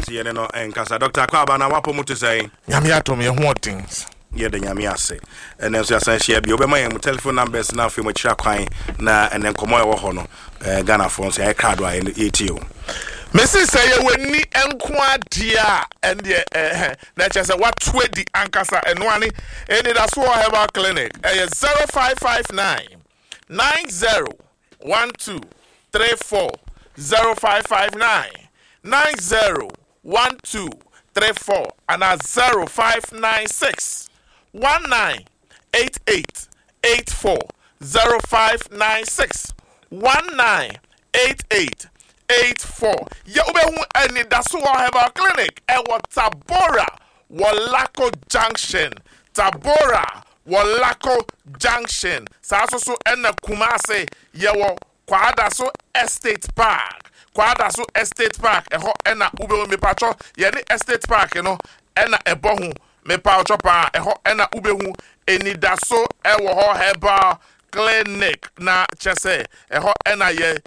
Nti yɛne no nkasa. Dr. Akwaaba, na wapɔ mu te sɛn? Nyame adom, yɛ ho ɔden. Yɛda Nyame ase. Ɛnɛ nso yɛasan hyia bio. Wobɛma yɛn mu telephone numbers na afei mu akyira kwan na ɛnɛ nkɔmmɔ a ɛwɔ hɔ no, Ghanafoɔ nso yɛayɛ krado a yɛtie o. Mese sɛ yɛwɔ ani nko adeɛ a, ɛndeɛ ɛhɛ na ɛkyerɛ sɛ wato adi ankasa. Ɛno ane Anidasoɔ Herbal Clinic. Ɛyɛ 0559 90 12 34, 0559 90 12 34 anaa 0596 19 88 84, 0596 19 88 84. Yɛ wobɛhu Anidasoɔ Herbal Clinic ɛwɔ Tabora wɔ Lako Junction. Tabora wɔ Lako Junction. Saa nso so ɛna Kumase yɛwɔ Kwadaso Estate Park. Kwadaso Estate Park, ɛhɔ ɛna wobɛhu. Mepatwɔ, yɛne Estate Park no ɛna ɛbɔ ho. Mepatwɔ paa, ɛhɔ ɛna wobɛhu Anidaso ɛwɔ hɔ Herbal Clinic, na kyɛ sɛ ɛhɔ ɛna yɛ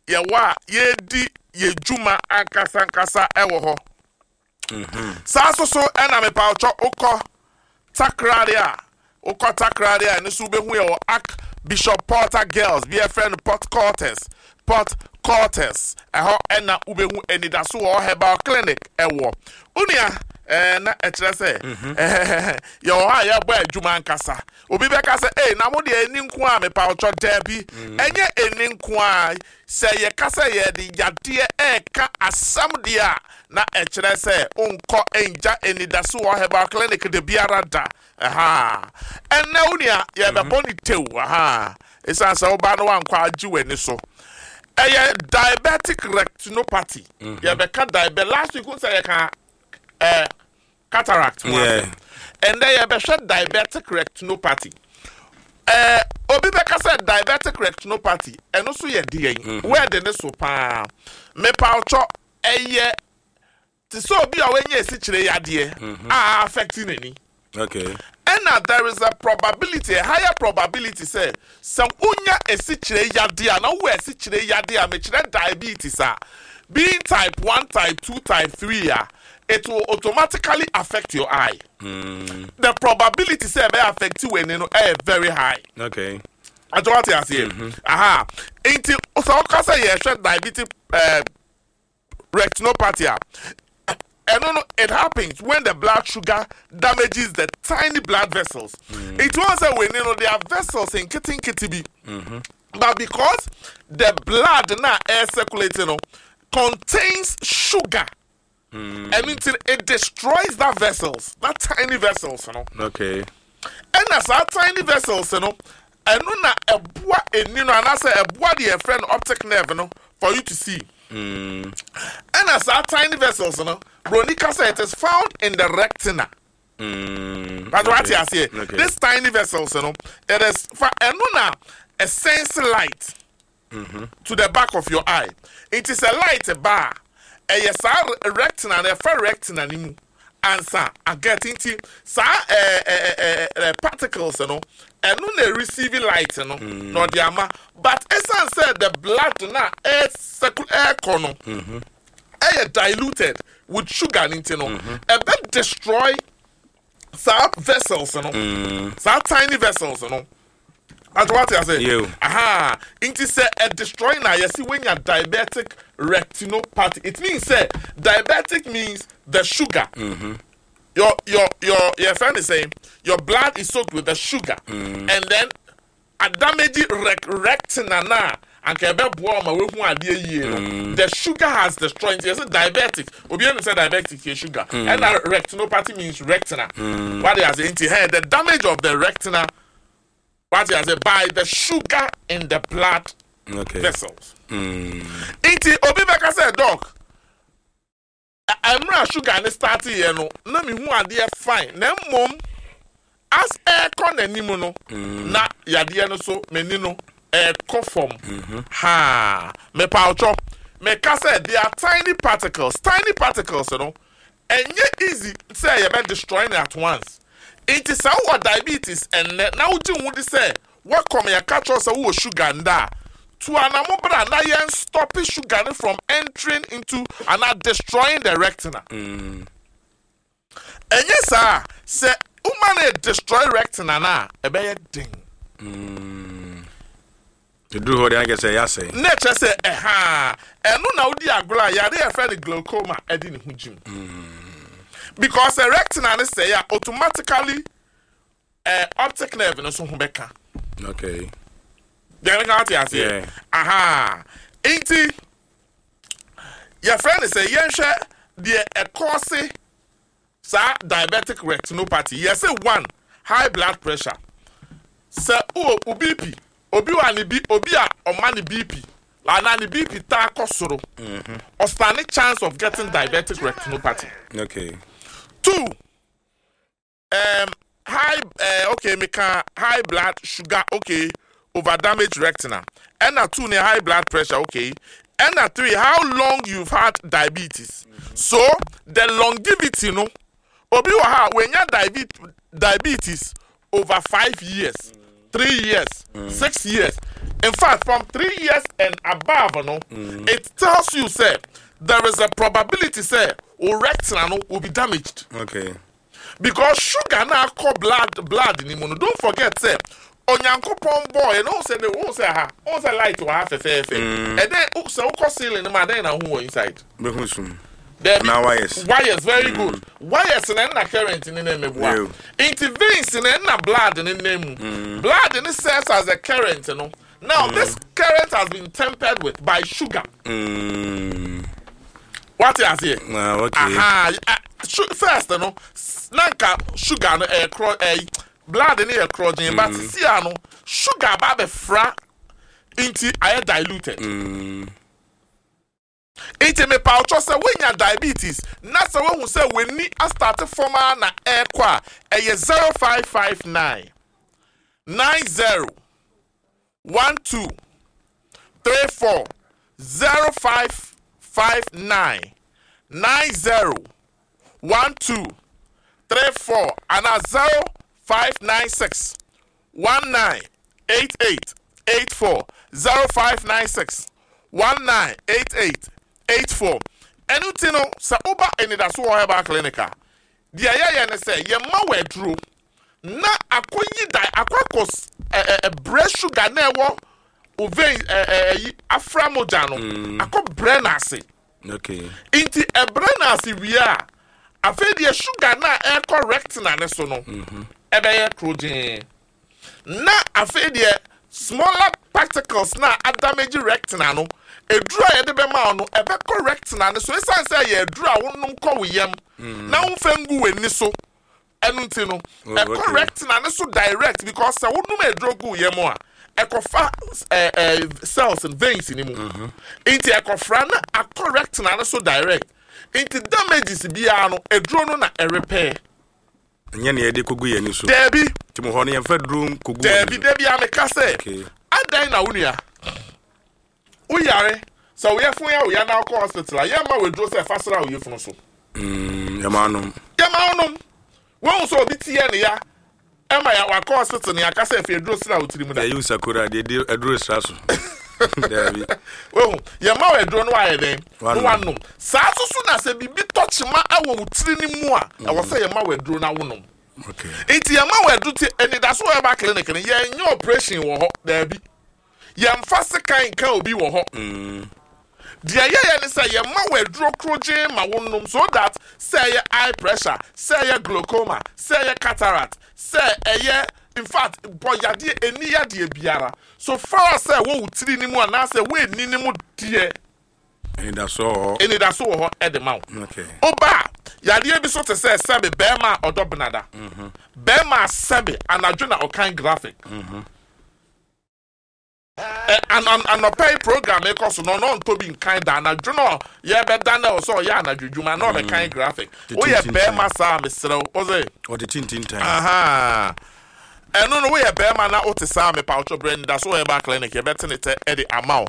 yɛwɔ a yɛdi yɛ dwuma ankasa ankasa ɛwɔ hɔ. Saa nso so ɛna mepatwɔ wokɔ Takoradi a, wokɔ Takoradi a, ɛno nso wobɛhu yɛ wɔ Archbishop Porter Girls bi ɛfrɛ no Port Quarters. Port Quarters, ɛhɔ ɛna wobɛhu Anidaso wɔ Herbal Clinic ɛwɔ. Onua, na ɛkyerɛ sɛ yɛwɔ hɔ a yɛbɔ adwuma ankasa. Obi bɛka sɛ, "Ei, na mo deɛ ɛni nko a?" Mepatwɔ, daabi, ɛnyɛ ɛni nko a. Sɛ yɛka sɛ yɛde yadeɛ ɛɛka asɛm deɛ a, na ɛkyerɛ sɛ wonkɔ ngya Anidaso wɔ Herbal Clinic de biara da. Ɛha ɛnɛ wo nua, yɛbɛbɔ ne tew aha, ɛsiane sɛ woba no wankɔ agye w'ani so. Ɛyɛ diabetic retinopathy. Yɛbɛka diabetes. Last week wo sɛ yɛka cataract ho asɛm. Ɛndɛ yɛbɛhwɛ diabetic retinopathy. Obi bɛka sɛ diabetic retinopathy ɛno so yɛ deɛn? Wɛɛde ne so paa. Mepawtwɔ, ɛyɛ te sɛ obi a wanya esikyire yadeɛ a affect n'ani. Ɛna there is a probability, a higher probability sɛ wonya esikyire yadeɛ a, na wowɔ esikyire yadeɛ a mekyerɛ diabetes a, being type 1, type 2, type 3 a, it will automatically affect your eye. The probability sɛ ɛbɛyɛ affect w'ani no ɛyɛ very high. Atɔ wate aseɛ? Aha, nti sɛ ɔka sɛ yɛhwɛ diabetic retinopathy a, ɛno no, it happens when the blood sugar damages the tiny blood vessels. Nti wɔn sɛ w'ani no, there are vessels nketenkete bi, but because the blood na air circulating no contains sugar, ɛno nti it destroys that vessels, that tiny vessels. Ɛna saa tiny vessels no, ɛno na ɛboa eni no anaasɛ ɛboa deɛ yɛfrɛ no optic nerve no for you to see. Ɛna saa tiny vessels no, broni kasa, it is found in the retina. But what you say? This tiny vessels no, it is fa ɛno na a sense light to the back of your eye. It is a light bar. Ɛyɛ saa retina na ɛfa retina ni mu ansa aget. Nti saa ɛɛ ɛɛ ɛɛ particles no, ɛno na receive light no na ɔde ama. But esan sɛ the blood na ɛɛ circle ɛɛkɔ no ɛyɛ diluted with sugar ne nti no, ɛbɛ destroy saa vessels no, saa tiny vessels no. Ati wate ase? Yo. Aha, nti sɛ ɛ destroy na yɛsi wenya diabetic retinopathy, it means sɛ diabetic means the sugar, your friend is saying your blood is soaked with the sugar, and then a damage retina na anka ɛbɛboa ɔma wehu adeɛ yie no, the sugar has destroyed. Nti yɛsɛ diabetic, obi ɛnu sɛ diabetic yɛ sugar, ɛna retinopathy means retina. Wate ase? Nti hey, the damage of the retina, wate ase, by the sugar in the blood vessels. Nti obi bɛka sɛ, "Doc, mmerɛ a sugar ne start yɛ no na mehu adeɛ fine, na mmom as ɛrekɔ n'anim no na yadeɛ no so m'ani no ɛrekɔ fam." Ha, mepawotwɔ, meka sɛ they are tiny particles. Tiny particles no, ɛnyɛ easy sɛ yɛbɛ destroy no at once. Nti sɛ wowɔ diabetes ɛnnɛ na wogye wo di sɛ wakɔm yɛka kyerɛ sɛ wowɔ sugar nda a, Tu anamo bra na yɛn stop sugar no from entering into anaa destroying the retina. Ɛnyɛ saa a, sɛ woma no destroy retina no a, ɛbɛyɛ den. Ɛduru hɔ deɛ na kyerɛ sɛ ɛyɛ asɛe. Na ɛkyerɛ sɛ ɛhaa, ɛno na wodi agorɔ a yare a yɛfrɛ no glaucoma ɛde ne ho gyim. Because sɛ retina no sɛe a, automatically eh, optic nerve no nso ho bɛka. Okay. Deɛ meka wote aseɛ? Yeah. Aha. Nti, yɛfrɛ no sɛ yɛnhwɛ deɛ ɛkɔɔse saa diabetic retinopathy. Yɛse one, high blood pressure. Sɛ wowɔ wo BP, obi wɔ a ne bi, obi a ɔma ne BP anaa ne BP taa kɔ soro, ɔstane chance of getting diabetic retinopathy. Okay. Two, um, high uh, okay meka high blood sugar okay over damage retina ɛna two ne high blood pressure okay ɛna three how long you've had diabetes so the longevity no obi wɔ ha wenya diabetes over 5 years, 3 years, 6 years. In fact, from 3 years and above no, it tells you say there is a probability say o retina no will be damaged because sugar na akɔ blood ni mu no. Don't forget say Onyankopɔn bɔɔ yɛ no sɛ de ohun sɛ ha ohun sɛ light wɔ ha fɛfɛɛfɛ ɛdɛn sɛ wokɔ ceiling no mu adɛn na ohun wɔ inside? Bɛhu sum. Dɛbi. Na wires. Wires, very good. Wires na ɛna current ne na ɛmɛboa nti veins na ɛna blood ne nam mu. Blood ne serves as a current no. Now this current has been tempered with by sugar. Wate aseɛ? Ah, okay. Aha, first no na nka sugar no ɛyɛ korɔ, ɛyɛ blood no yɛ korɔgyen, but sisi a no sugar ba abɛfra nti ayɛ diluted. Nti mepa ɔtɔ sɛ wonya diabetes na sɛ wohu sɛ w'ani astart fam a na ɛrekɔ a, ɛyɛ 0559 90 12 34, 0559 90 12 34 ana 0596 19 88 84, 0596 19 88 84. Ɛno ti no sɛ woba Anidaso wɔ herbal clinic a, deɛ yɛyɛ ne sɛ yɛma wɔ aduro na akɔyi da akɔ akɔ ɛ ɛ ɛbrɛ sugar na ɛwɔ o vein ɛ ɛ ɛyi afra mogya no akɔ brɛ n'ase. Nti ɛbrɛ n'ase wie a, afei deɛ sugar na ɛkɔ retina ne so no ɛbɛyɛ korogyen na afei deɛ smaller particles na adamage retina no, eduru a yɛde bɛma wo no ɛbɛkɔ retina ne so. Esan sɛ ɛyɛ eduru a wonom kɔ wo yam na womfɛ ngu w'ani so, ɛno nti no ɛkɔ retina ne so direct, because sɛ wonom eduro gu wo yam a, ɛkɔfa ɛɛ ɛɛ cells and veins ni mu nti ɛkɔfra na akɔ retina ne so direct. Nti damages biara no, eduro no na ɛrepair. Ɛnyɛ nea yɛde kɔgu yɛn ani so. Daabi. Nti mo hɔ no yɛmfa duro nkɔgu w'ani Daabi. so. Dabi a meka sɛ adan na wo nua woyare sɛ woyɛ fun yɛ woyɛ na wokɔ hospital a, yɛmma waduro sɛ fa sra wo yɛfunu so. Yɛma anom. Yɛma wonom. Wohu sɛ obi teɛ ne ya ɛma ya wakɔ hospital ne yɛaka sɛ afei aduro sra wo tiri mu da? Yɛyi wo sakora deɛ de aduro sra so, daabi. Wohu, yɛma wo aduro no wayɛ dɛn na Wanom. Wanom saa so so na sɛ biribi tɔ kyema ɛwɔ wo tiri no mu a, ɛwɔ sɛ yɛma wo aduro na wonom. Nti yɛma wo aduro ti Anidaso herbal clinic no, yɛnyɛ operation wɔ hɔ, daabi. Yɛmfa sekan nka obi wɔ hɔ. Deɛ yɛyɛ ne sɛ yɛma wo aduro korogyen ma wonom so that sɛ ɛyɛ eye pressure, sɛ ɛyɛ glaucoma, sɛ ɛyɛ cataract, sɛ ɛyɛ, in fact, bɔ yadeɛ ɛni yadeɛ biara, so far as sɛ ɛwɔ wo tiri ne mu anaasɛ ɛwɔ ani ne mu deɛ, Anidasoɔ wɔ hɔ. Anidaso wɔ hɔ ɛde ma wo. Ɔba a yadeɛ bi so te sɛ sɛbe bɛrima a ɔdɔ benada, bɛrima a sɛbe anadwo na ɔkan graphic. Anɔpa yi program ekɔ so no, ɔno ɔntɔ bi nkan da. Anadwo no yɛbɛda na ɔsɛ ɔyɛ anadwo dwuma na ɔbɛkan graphic. Woyɛ Tintintan. bɛrima saa, mesrɛ wo, ɔsɛ Ɔde tintintan. Aha. Ɛno no woyɛ bɛrima na wote saa, mepawotɔ brɛ Anidaso Herbal Clinic, yɛbɛte ne tɛ ɛde ama wo.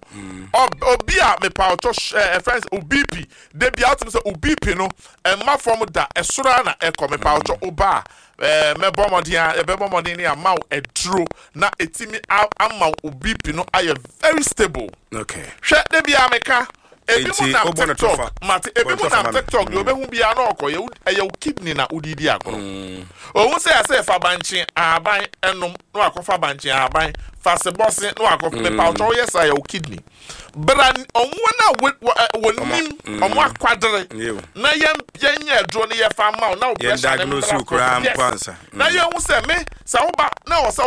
Obi a mepawotɔ ɛfrɛ sɛ wo BP da bia wotumi sɛ wo BP no ɛmma fam da, ɛsoro ara na ɛkɔ, mepawotɔ wo ba a mɛbɔ mmɔden a yɛbɛbɔ mmɔden ne ama wo aduro na ɛtumi ama wo BP no ayɛ very stable. Okay. Hwɛ, da bia meka ebi mu Enti nam wobɔ no TikTok tɔfa. mate, ebi Bɔ no mu tɔfa nam ma me. TikTok deɛ obehu biara na ɔkɔ yɛ, ɛyɛ wo kidney na wode di agorɔ. Ohun sɛ yɛsɛ fa bankye ahaban ɛnom na wakɔfa bankye ahaban, fa sebɔse na wakɔfa, mepawotɔ woyɛ saa, yɛ wo kidney. Bra ɔmo na wɔnim ɔmo akwadere Yew. na yɛn yɛnyɛ aduro no yɛfa ma wo na wo Yɛn pressure ne diagnose mmra wo koraa fam. mpo Yes. ansa. Na yɛhu sɛ me sɛ woba na wɔ sɛ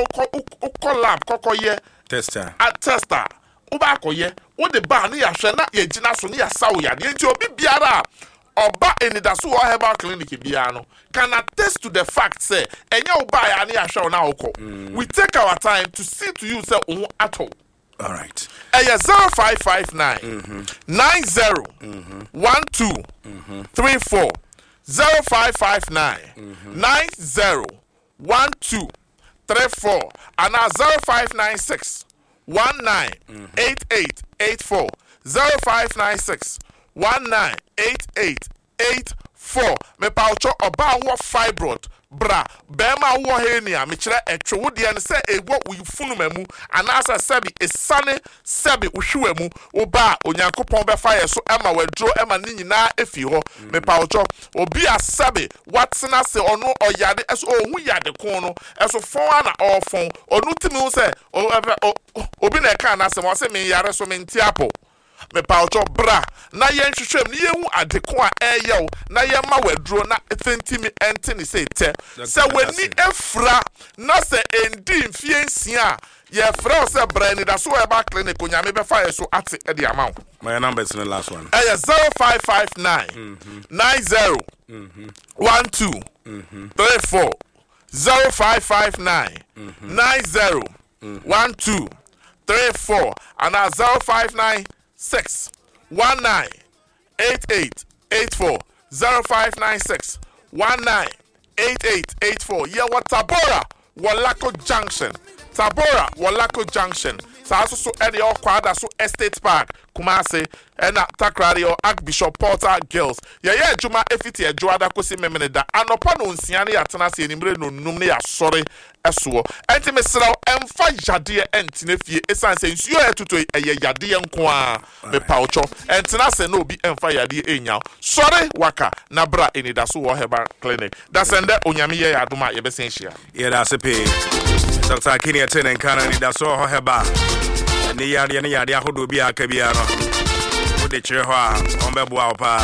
wokɔ lab kɔkɔyɛ Test a. A test a woba akɔyɛ, wode ba a ne yɛahwɛ na yɛgyina so ne yɛasa wo yadeɛ. Nti obi biara a ɔba Anidaso wɔ Herbal Clinic biara no can attest to the fact sɛ ɛnyɛ wo baeɛ a ne yɛahwɛ wo na wokɔ. We take our time to see to you sɛ wo ho atɔ wo. All right. Ɛyɛ 0559 90 12 34, 0559 90 12 34 anaa 0596 19 88 84, 0596 19 88 84. Mepawotwɔ, ɔbaa a wowɔ fibroid, bra. Bɛɛma a wowɔ hernia, mekyerɛ ɛtwe wo deɛ no sɛ ɛwɔ wo funuma mu anaasɛ sɛbi esane sɛbi wo hwewa mu, wo ba a, Onyankopɔn bɛfa yɛ so ma wo aduro ma ne nyinaa afi hɔ. Mepawotwɔ, obi a sɛbi watena ase ɔno ɔyare ɛso ɔhu yade ko no ɛso fɔn ara na ɔɔfɔn, ɔno tumi hu sɛ obi na ɛkaa n'asɛm, ɔse menyare so mente apɔ. Mepawokyɛw, bra na yɛnhwehwɛ mu na yenhu ade ko a ɛreyɛ wo na yɛmma wo aduro na ntumi nte ne sei tɛ. Sɛ w'ani afura na sɛ ɛndii mfeɛ 6 a, yɛfrɛ wo sɛ bra Anidaso Herbal Clinic, Onyame bɛfa yɛn so ate de ama wo. Ma yɛn numbers no last one. Ɛyɛ 0559 90 12 34, 0559 90 12 34 anaa 0596 19 88 84, 0596 19 88 84. Yɛwɔ Tabora wɔ Lako Junction, Tabora wɔ Lako Junction. Saa nso so ɛne ɛwɔ Kwadaso Estate Park, Kumase, ɛna Takoradi ɛwɔ Archbishop Porter Girls. Yɛyɛ adwuma efiti Ɛdwoada kosi Memeneda anɔpa nonsia ne yɛatena ase anwummere nonnum ne yɛasɔre soɔ. Ɛnti mesrɛ wo ɛmfa yadeɛ ɛntena fie ɛsiane sɛ nsuo a ɛtotɔ yi ɛyɛ yadeɛ nko ara. Mepawotwɔ ɛntena ase na obi ɛmfa yadeɛ ɛnnya wo. Sɔre waka na bra Anidaso wɔ Herbal Clinic. Dasɛndɛ Onyame yɛ yɛn adom a yɛbɛsan ahyia. Yɛda ase pii. Dr. Akini ɛte ne nka no, anidaso wɔ hɔ hɛba ne yadeɛ ne yadeɛ ahodoɔ bi a aka biara no wode kyerɛ hɔ a wɔn bɛboa wo paa.